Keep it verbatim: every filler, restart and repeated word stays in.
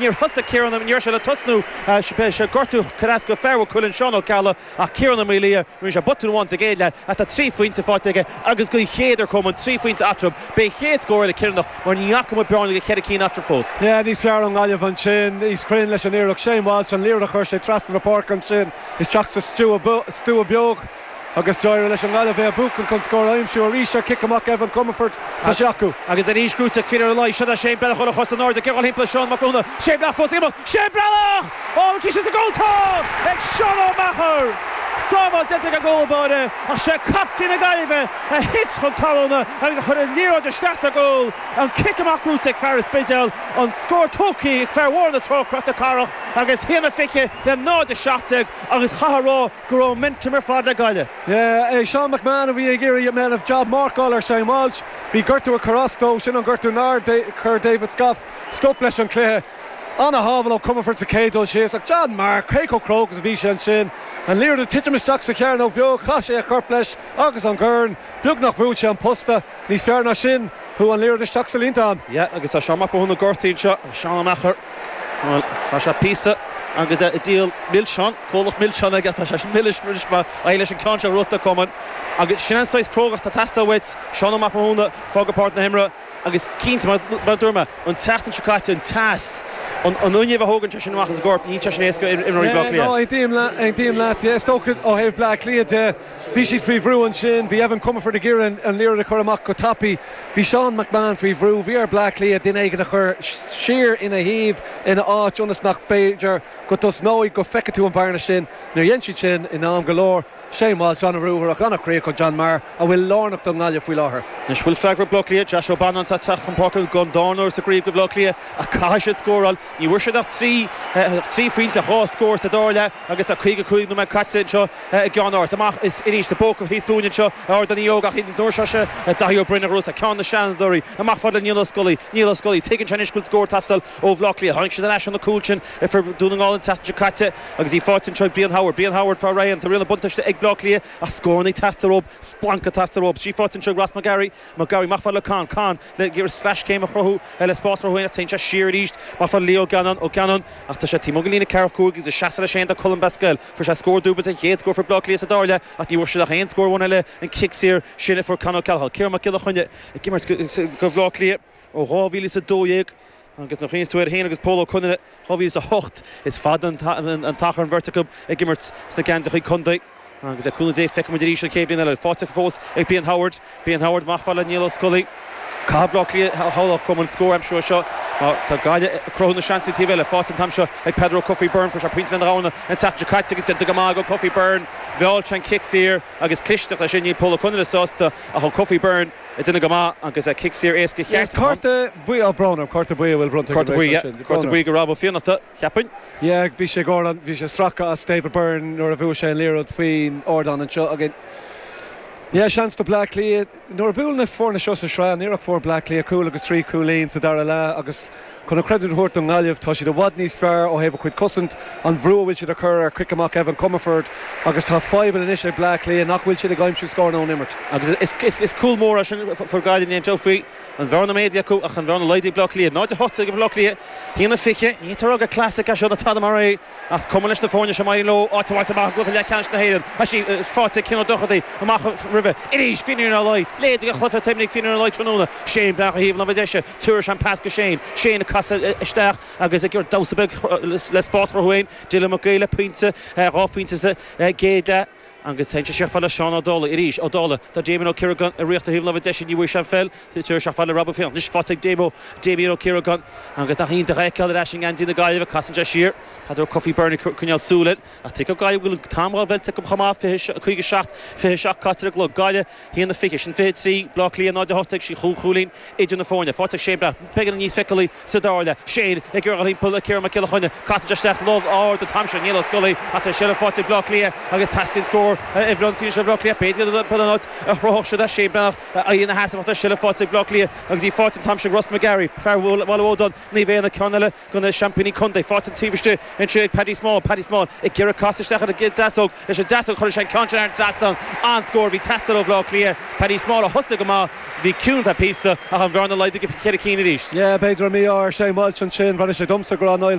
Níor thosaigh Ciarán, ní raibh sé le tosnú, sé gortú cur go fear chuilinn Seán Ó Ceallaigh, ach Ciarán Ó Maolaodha, rinne sé botún amháin sa gcéad leath ach tá trí phointe faighte aige agus den chéad uair Coman trí phointe eatarthu. B'é chéad scór eile Ciaránach mar ní fhaca muid bearna de cheithre cinn eatarthu fós. Yeah, níos fearr an Ghaillimh ansin, níos cruinne leis an iarracht. Shane Walsh, an liathróid a chuir sé trasna na páirce ansin isteach sa stua stua beag agus d'éirigh leis an nGaillimh é a bhuachan chun scór a aimsiú arís ar chic amach Evan Comerford, tá sé acu. Agus arís gnóite ag Fionn Ó Laoi, seo Shane Breathnach chun a chos in airde, ag dul thimpeall Seán Mac Mathúna, Shane Breathnach fós ag imeacht, Shane Breathnach! Ó, tá sé sa gcúl, tá! Ag Seán Ó Meachair! Sábháil déanta ag an gcúl báire, ach sé captaen na Gaillimhe a thit chun talún agus a chuir an liathróid isteach sa gcúl. An cic amach gnóite ag fear an Spidéil, an scór tógtha ag fear Bharr na Trá, Cnoc na Cathrach, agus haon a fiche le náid a seacht déag agus chaithfeá a rá go raibh momentum ar fad le Gaillimh. Yeah, é Sean McMahon a bhí ag iarraidh déanamh job marcáil ar Shane Walsh, bhí gortú ag cur as dó, sin an gortú nár chuir David Gough stop leis an cluiche. An-shábháil ó Comerford sa chéad dul síos, ach John Mark, cé chomh cróga is a bhí sé ansin. An liathróid ag titim isteach sa chearnóg bheag, chaith sé a chorp leis agus an corn, beagnach bhuail sé an posta, níos fearr ná sin, chuaigh an liathróid isteach sa líontán. Yeah, agus tá Seán Mac Mathúna gortaithe anseo, Seán Ó Meachair, bhuel, chaith sé píosa agus é ag díol milseán, comhlacht milseán aige, tá sé sin milis anois mar aghaidh leis an ceann seo rota Coman. Agus sin an saghas crógacht atá ag teastáil uait, Seán Ó Mac Mathúna, fágadh páirc na himeartha, agus cinnte, mar mar a dúirt mé, an tseachtain seo caite, an teas, an an fhuinneamh a thógann sé sin amach as an gcorp, níl sé sin éasca ar imreoirí Bhaile Átha No, Cliath. aontaím le- aontaím leat, yeah, is dócha ó thaobh Bleá Cliath de, bhí siad faoi bhrú ansin, bhí Evan Comerford ag iarraidh an liathróid a chur amach go tapaidh, bhí Seán McMahon faoi bhrú, bhí ar Bleá Cliath duine éigin a chur siar ina thaobh ina áit ionas nach b'fhéidir go dtosnóidh go bhfeicfidh tú an bearna sin, níor dhein siad sin in am go leor. Shane Walsh an-ruathar an-chríoch ó John Maher a bhfuil lárnach don nGaillimh faoi láthair. Anois bhfuil freagra Bleá Cliath, Josh O'Bannon tá teach chun páirce don dara huair sa gcraobh do Bhleá Cliath ach caithfidh siad scóráil, ní bhfuair siad ach trí trí phointe, dhá scór sa dara leath agus tá caoga cúig nóiméad caite anseo i gceann amach is arís sa bpóca thíos fúinn anseo Ard an Óg ach nuair seo sé Daithí Ó Broin a ghrúsa ceann na seanadóirí amach fad le Niall Ó Scolaí, Niall Ó Scolaí, tuigeann sé anois go bhfuil scór ag teastáil ó Bhleá Cliath. Tháinig siad ar ais an na cúil sin fir Dún na nGall an tseachtain seo caite agus í faighte anseo ag Brian Howard. Brian Howard fá Ryan, tá riail na buntáiste ag Bleá Cliath ach scóranna ag teastáil uathu, splanc ag teastáil uathu. Sí faighte anseo ag Ross McGarry, McGarry amach fad le Con, Con le sleaschéim a chruthú le spás chruthú ach téann sé siar arís amach fad Leo Gannon, Ó Gannon ach tá sé taobh amuigh den líne ceathracha cúig agus seasamh leis féin do Colm Basquel. Fuair sé scór dúbailte, chéad scór fir Bleá Cliath sa dara leath ach ní bhfuair siad ach aon scór amháin eile an cic saor sin a fuair Con O'Callaghan. Ciarán Mac Giolla Chainnigh ag imirt go Bleá Cliath ó dhá mhíle is a dó dhéag agus nuair a chuimhníos tú air féin agus Pól Ó Conaire dhá mhíle is a hocht is fada an t-achar an bheirt acu ag imirt sna geansaithe contae. Agus le cúnamh Dé feicfidh muid arís an chéad bhliain eile. Faighte fós ag Brian Howard. Brian Howard amach fad le Niall Ó Scolaí. Caithfidh Bleá Cliath a chum an scór aimsiú seo. Má tá Gaillimh ag cruthú na seansanna taobh eile, faighte an t-am seo ag Peadar Ó Cofaigh Byrne, fuair sé pointe lena ghabhanna an tseachtain seo caite agus déanta go maith ag Ó Cofaigh Byrne. Mheall sé an cic saor agus clisteacht leis sin, níl Pól Ó Conaire sásta ach Ó Cofaigh Byrne ag déanamh go maith agus a cic saor éasca cheart. Cárta buí á brón, cárta buí a bhfuil bronnta Cárta buí, yeah. Cárta buí go Rob Ó Fiannachta, cheapfainn. Yeah, bhí sé ggóir bhí sé stracadh as David Byrne nuair a bhuaigh sé an liathróid faoin ardán anseo againn. Yeah, seans do Bleá Cliath nuair a bhuail na foirne seo sa sraith níor fuair Bleá Cliath cúl agus trí chúilín sa dara leath agus chun an creidiúint a thabhairt don Ghaillimh tá siad i bhfad níos fearr ó thaobh a chuid cosaint an bhrú a bhfuil siad a chur ar chic amach Evan Comerford agus tá fadhbanna anois ag Bleá Cliath nach bhfuil siad ag aimsiú scór ón imirt. Agus is, is, is cúl mór é sin fir Gaillimh ní faoi an bhearna méadaithe acu ach an bhearna laghdaithe Bleá Cliath. Náid a hocht ag Bleá Cliath, haon a fiche, ní tar go classic é seo na tada mar é as cuma leis na foirne seo maith leo áit amach amach go leathcheannais na hÉireann. A sí faighte Cian Ó Dochartaigh amach roimhe. Arís Finian Ó Laoi, léid ag chluiche taimnig Finian Ó Laoi tráthnóna. Shane Breathnach a thaobh láimhe deise, tuair an pas go Shane. Shane ag casadh isteach agus ag damhsa beag le spás chruthú féin. Dylan Mac le pointe dhá phointe sa gcéad leath. Agus tá sé sé le Seán Ó Dálaigh arís Ó Dálaigh tá Damien Ó Ciaragáin i riocht a thaobh láimhe deise ní bhfuair sé an pheil tuair sé le Rob Fion. Anois faighte ag Damo Damien Ó Ciaragáin agus nach iontach é feiceáil ar ais in ngeansaí na Gaillimhe casann sé siar Peadar Cofaigh Byrne coinneáil súil ach tuigim Gaillimh bhfuil an t-am dhá mheilte acu chomh maith fiche seacht fiche seacht caite ar an gclog Gaillimh haon a fiche sin fiche trí Bleá Cliath náid a hocht ag sí chúig chúilín idir na foirne. Faighte ag Shane Breathnach beagán níos feiceálaí sa dara leath. Shane ag iarraidh thimpeall le Ciarán Mac Giolla Chainnigh casann sé isteach lámh ard an t-am sin Niall Ó Scolaí ach tá sé le faighte Bleá Cliath agus teastaíonn scór scór i bhfronsaí se Bleá Cliath b'fhéidir an áit a chruthódh siad é Shane Breathnach a ina sheasamh seilbh faighte ag Bleá Cliath agus í faighte an t-am sin Ross McGarry fear Bhaile Naomh Éanna ceann eile de na seaimpíní contae faighte an taobh istigh ansin ag Paddy Small Paddy Small ag iarraidh casadh isteach ar an deasóg leis an deasóg chuir sé ceann ar an trasnán an scór bhí teastáil ó Bhleá Cliath Paddy Small a thosaigh go maith bhí ciúin píosa ach an bhearna laghdaithe go ceithre cinn arís. Yeah, b'fhéidir mí ar sé Walsh ansin bhí sé domsa go Niall